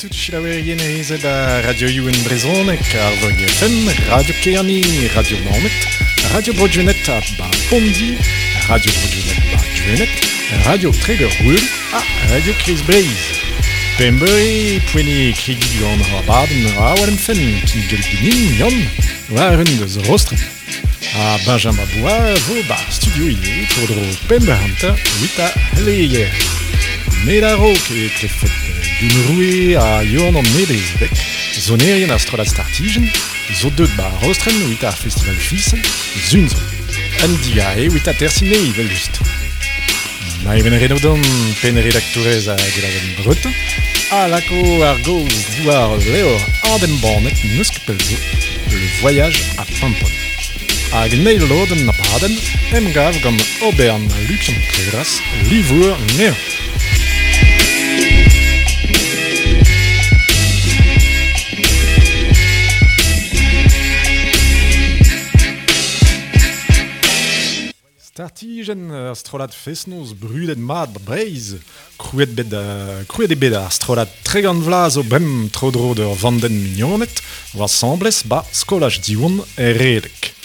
tout selaouerien ezed a radioioù en brezhoneg, Arvog FM, Radio Kerne, Radio Naoned, Radio Bro-Gwened ha ba Pondi, Radio Bro-Gwened ba Gwened, Radio Treger-Gouel ha Radio Kreiz Breizh. Pemp eur eo poent eo kregiñ gant hor abadenn Awal em fenn kinniget ganin Yann war un deus Rostrenn. Ha Benjamin Bois vo 'ba studio ivez tro-dro pemp eur hanter evit ar c'heleier. Met a-raok e klevfet Youn Roue ha Yoann an Nedeleg, sonerien ar strollad Startijenn, zo deuet 'ba Rostrenn evit ar festival Fisel, Sun zo. Un digarez evit atersiñ anezhi evel-just. Maïwenn Renaudon, pennredaktourez a gelaouenn Breton, a lako ar gaoz diwar ul levr adembannet n'eus ket pell zo, Le voyage à Paimpol. Hag en eil lodenn abadenn, emgav gant Obern Lukian Treras, livour anezhañ. Startijenn ur strollad fest-noz brudet mat 'ba Breizh. Krouet bet krouet eo bet ar strollad 30 vloaz zo bremañ tro-dro d'ur vandenn mignoned 'oa asambles 'ba skolaj Diwan er Redeg.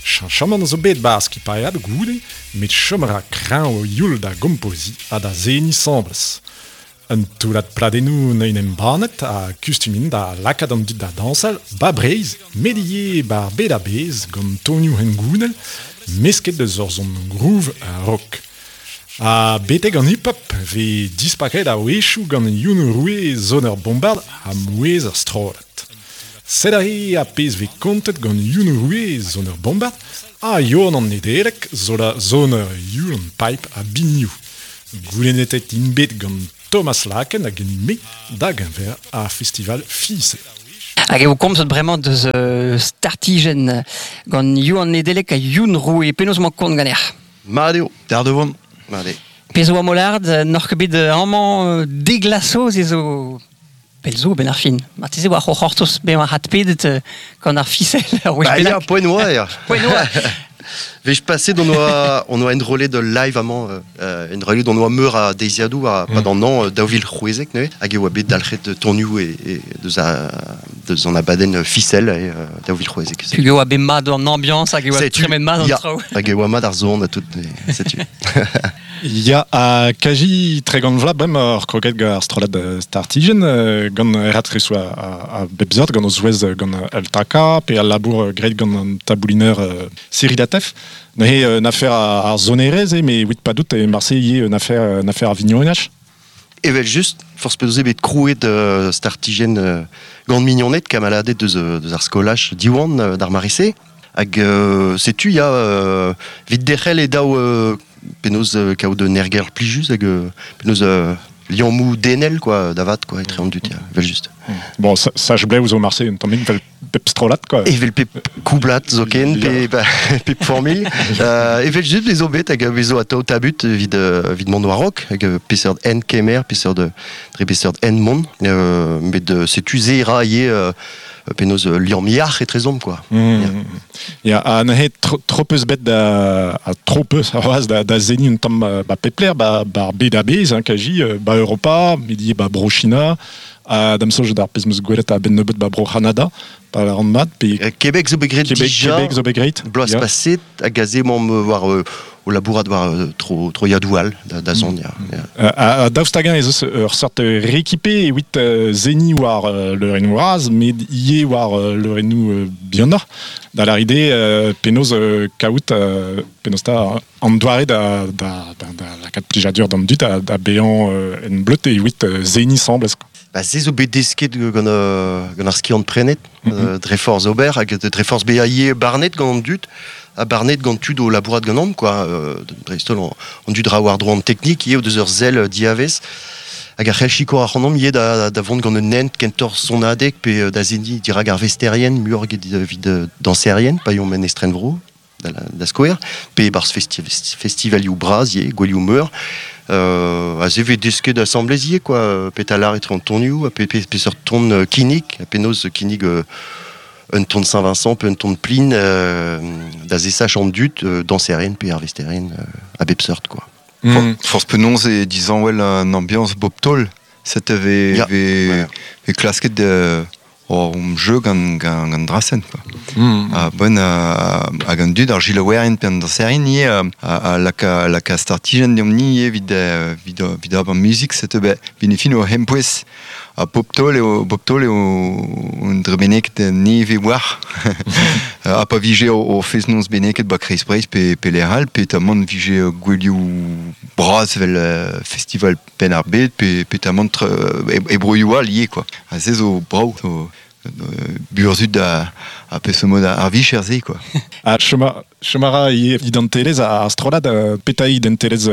Cheñchamant zo bet 'ba ar skipailhad goude met chom a ra kreñv o youl da gompoziñ ha da seniñ 'sambles. Un toullad pladennoù neuint embannet ha kustum int da lakaat an dud da dañsal 'ba Breizh met ivez 'ba ar bed a-bezh gant tonioù hengounel mesket eus ur son groove ha rock. Ha betek an hip-hop 'vez dispaket a-wechoù gant Youn Roue soner bombard ha mouezh ar strollad. Sed aze ar pezh 'vez kontet gant Youn Roue soner bombard ha Yoann an Nedeleg soner Youlan Pipe ha binioù. Goulennetet int bet gant Thomas Laken hag me da geñver ar festival Fisel. Hag eo komzet bremañ deus startijenn gant Yoann Nedeleg ha Youn Roue. Penaos emañ kont ganec'h? Mat eo, d'ar devant. Mat eo. Pezh oa Molard, n'oc'h ket bet amañ deglasoz ez zo pell zo benn ar fin. Marteze oa c'hortoz bezañ adpedet gant ar fisel ur wech Bah ya, bennak. poent oa, ya. Poent oa. Wech paset on oa, on oa enrollet ul live amañ, euh, enrollet on oa meur a deiziadoù a pad an an 2016 neuze, hag e oa bet dalc'het tonioù e, e, deus, a, deus an abadenn fisel e 2016. Hag e oa bet mat an ambiance hag e oa tremen mat an traoù. Hag e oa mat ar zon ha tout, setu. Ya, ha kaji 30 vloaz bremañ oc'h kroget gant ar strollad Startijenn, gant raktres a bep seurt, gant o zouez gant Altaka, pe al labour graet gant an tabouliner Cyril Atef. Neuze un afer ar sonerezh eo, met evit padout e marse ivez un afer, un afer a vignonaj. Evel-just, forzh penaos eo bet krouet Startijenn gant mignoned, kamaladed deus, deus ar skolaj Diwan d'ar mare-se. Hag setu ya, evit derc'hel e daou penaos kaout un aergelc'h plijus hag penaos liammoù denel quoi, da vat quoi, etre an dud, ya, evel-just. Bon, sach blev zo marse un tammig vel pep strollad quoi. Evel pep koublad zoken, pe pep familh. Evel-just ez zo bet hag a vezo atao tabut evit, evit mont war-raok, hag peseurt hent kemer, peseurt, dre peseurt hent mont. Met setu se ra ivez penaos liamm yac'h etrezomp quoi. Mm. Ya, ha neuze tro peus bet da ha tro peus c'hoazh da, da seniñ un tamm ba pep lec'h ba, ba ar bed a-bezh hein, kaji ba Europa, met ivez ba Bro-China, ha da'm soñj d'ar pezh 'm eus gwelet a-benn nebeut ba Bro-C'hanada, pa lâran mat, pe Québec zo bet graet Québec, dija Québec zo bet graet. bloaz ya. paset hag aze emaomp war o labourat war tro, troiadoù all da, da zont ya. ya. Ha daoust hag-eñ ez eus ur seurt rekipe evit seniñ war leurennoù bras, met ivez war leurennoù bihanoc'h, da lâret eo penaos kaout penaos 'ta an doare da, da, da, da lakaat plijadur d'an dud da, da bezañ en bleud evit seniñ 'sembles. Ba, se zo bet desket gant, gant ar skiant-prenet, dre forzh ober hag dre forzh bezañ ivez barnet gant an dud ha barnet gant tud o labourat ganeomp quoi. Dreist-holl an dud ra war-dro an teknik ivez o deus ur sell diavez hag a c'hell sikour ac'hanomp ivez da, da vont gant un hent kentoc'h sonadeg pe da seniñ dirak ar vesterien muioc'h eget evit dañserien pa eomp en estrenvro. da, da skouer, pe e-barzh festi festivalioù bras ivez, gouelioù meur. Aze vez desket asambles ivez quoi, petra lâr etre an tonioù, ha pe, pe, peseurt ton kinnig, ha penaos kinnig un ton Saint-Vincent pe un ton Plin da zesach an dud, dañserien pe arvesterien a bep seurt quoi. Mm. Forzh penaos e dizanwel an ambiance bop taol. Set ve, Ya. ve, Ouais. ve klasket o um jeu gant, gant, gant drasen, quoi. A bon hag an dud ar gilaouerien pe an danserien ie a laka startijen deomp ni ie vid, vid, vid ab an muzik set be vin e fin o hempouez a poptol eo poptol eo un drebeneket neve war a pa vije o fez nonz beneket ba kreiz Breiz pe, pe lec'hall pe tamant vije gwelioù bras vel festival pen ar bed pe, pe tamant e broioù all ie quoi. A se zo brao zo burzud a peseurt mod ar vicher se quoi. A chomara ie identelez a strollad peta identelez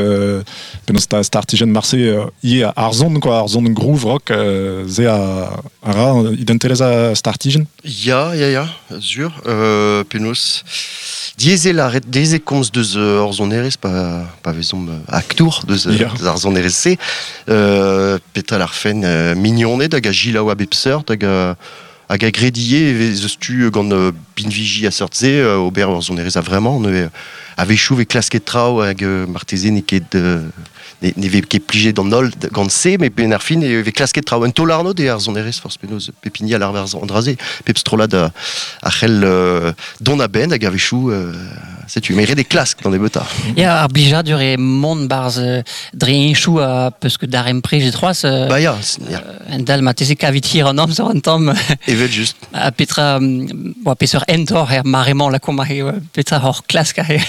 penaos ta startijen marse ie ar zon quoi, ar zon groove rock ze a ra identelez a startijen. Ya, ya, ya, sur. Penaos diesel arret deze komz deus ur zonerez pa vezomp aktour deus, deus ar zonerez se. Petra ar fen mignoned hag a gilaou a bep seurt hag hag a gredie vez eus tu gant binviji a seurt se ober ur zonerez a vraiment ne a vechou ve klasket traoù hag marteze ne ket ne vez ket plijet d'an holl gant se met ben ar fin e vez klasket traoù un taol arnod e ar zonerez forz penaos pepini a l'arver an draze pep strollad a c'hell dont a benn hag a vechou setu mais ret e klask d'an ebeuta. Ya, ar blijadur e mont barz dre enchou a peus ket d'ar emprej e troaz Ba ya, ya. En dal ma teze kavit hir an amzer an tamm. Evel just. A petra boa peseurt entor er maremañ la komp a petra hor klask a he.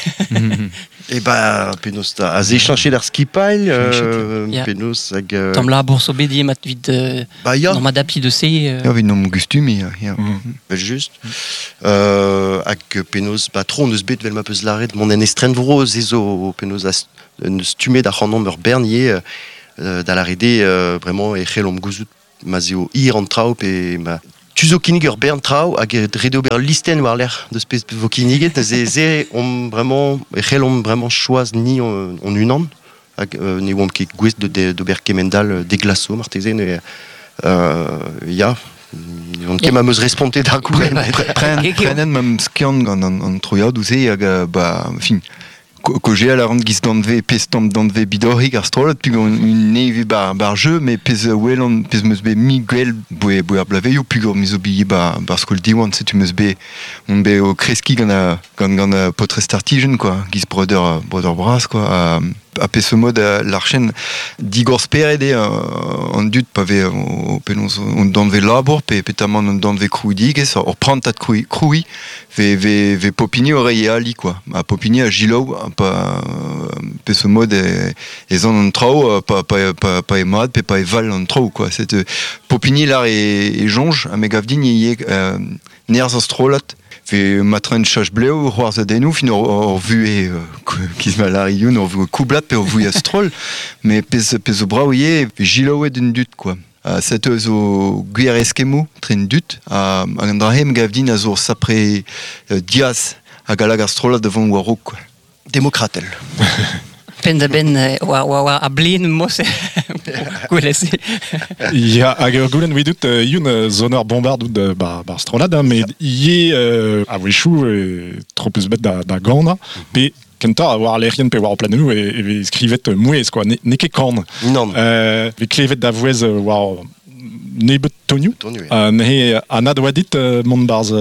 E ba penaos ta a ze chanchet ar skipail penaos hag Tamm labour zo bet mat vid Ba ya. Norma d'api de se Ya, vid nom gustumi, ya. Evel just. Hag penaos ba tro neus bet vel ma peus laret mon en estren vro ze zo penaos a neus tumet ar c'hanomp ur bernier da larede vraiment e c'hell omp gouzout ma zeo ir an traoù pe ma tu zo kinnig ur bern traoù hag ret ober listen war lec'h deus pezh vo kinniget ze ze omp vraiment e c'hell omp vraiment choaz ni on unan hag ne oamp ket gouest d'ober kemendal deglaso marteze ne ya on ket ma meus respontet d'ar goulenn. Prenen mam skiant gant an troiadoù se hag ba fin ko a ran giz danve pez tamm danve bidorrik ar strollad pug an un neve bar jeu mais pez welan pez meus bet mi gwell boe boe ar blaveioù pug ur mizo billet bar skol diwan setu meus bet on bet o kreski gant a gant gant a potre startijen quoi giz brother brother bras quoi a pez mod l'archen digor speret e an dud pa ve o penaos on danve labour pe petamant on danve krouidigez ur prantad kroui ve ve ve popini o rei ali quoi a popini a gilaou pa pez mod e zan an traoù pa pa pa pa e mad pe pa e val an traoù quoi c'est popini lar e jonge a me gav din e nerz an strollad ve matren chach bleu c'hoarz adennoù fin ur vu e kiz ma larioun ur vu koublat pe ur vu a stroll mais pez pez o brao ivez gilaouet un dud quoi. Set zo gwir eskemou tren dud hag an drahe me gav din a zo sapre diaz hag a lag ar strollad devant war raok quoi. Demokratel. Pen da ben oa a blin mos gwellez. Ya, hag ur goulenn vidut youn zoneur bombard out bar strollad, hein, met ie a wechou tro peus bet da gana, pe kentañ a war lec'hien pe war o planenou e vez skrivet mouez, quoi, ne ket kan. Non. Vez klevet da vouez war nebeut tonioù. Tonioù, ya. Neuze anad oa dit mont barz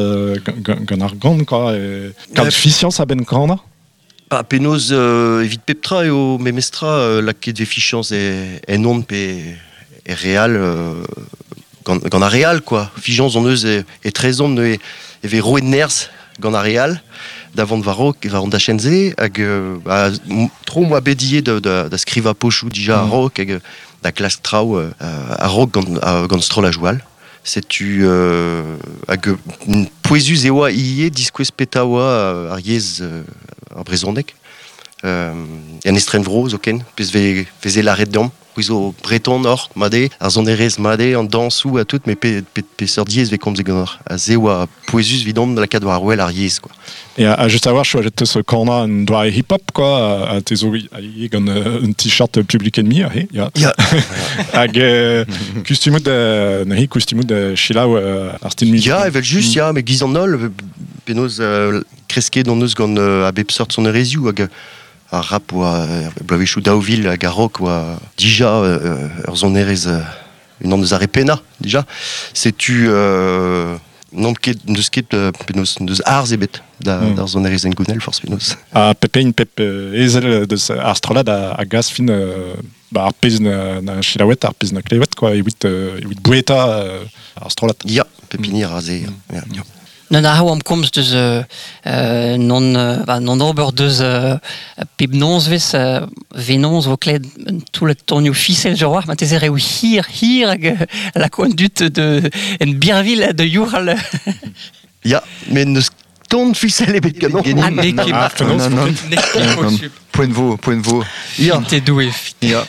gant ar gant, quoi, kaout fiziañs a-benn kana. Ba, penaos evit pep tra eo memestra lakaet ve fichañs e en on pe e real gant ar real quoi. Fichañs on eus e trezon e ve roet nerz gant ar real da vont war raok war an dachenn-se hag ba, tro moa bet ivez da skrivañ pochoù dija a-raok hag da klask traoù a-raok gant strollajoù all. Setu hag pouezus e oa ivez diskouez peta oa ar yezh ar brezhoneg. En estren vro zoken, pez veze laret deomp, c'hwi zo breton or, made, ar sonerezh made, an dañsoù a tout, met peseurt yezh vez komzet ganeoc'h. A se oa pouezus vidon lakaat war wel ar yezh, quoi. Et a juste à voir, choajet teus kana un doare hip-hop, quoi, a te zo a gant un t-shirt Public Enemy, he, ya. Ya. Hag kustumout nahi, kustumout chilaou ar stil music. Ya, evel just, ya, met giz an holl, penaos kresket on eus gant a bep seurt sonerezioù hag ar rap oa bloavezhioù daou vil hag ar rock oa dija ur sonerezh unan deus ar re pennañ dija. Setu n'omp ket n'eus ket penaos n'eus arz ebet da mm. d'ar sonerezh hengounel forzh penaos. Ha pep hini pep ezel deus ar strollad a, a gas fin ba, ar pezh na, na selaouet, ar pezh na klevet quoi, evit evit boueta ar strollad. Ya, pep hini a ra se. Mm. Ya. Non a am komz deus non ba, non ober deus pep nozvezh venoz vo klevet un toullad tonioù fisel je war marteze reoù hir hir hag lako an dud de en birvilh de youc'hal. Ya, met n'eus ton fisel ebet ganeomp. Ah, n'eo ket Ah, penaos Non, non. Poent vo, poent vo. Ya. Te doue. Ya.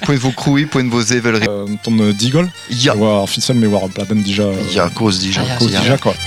Poent vo krouiñ, poent vo sevel. Ton digol Ya. War ar fisel, mais war ar pladenn dija. Ya, kozh dija. Ah, ya. Kozh Ya. dija, quoi.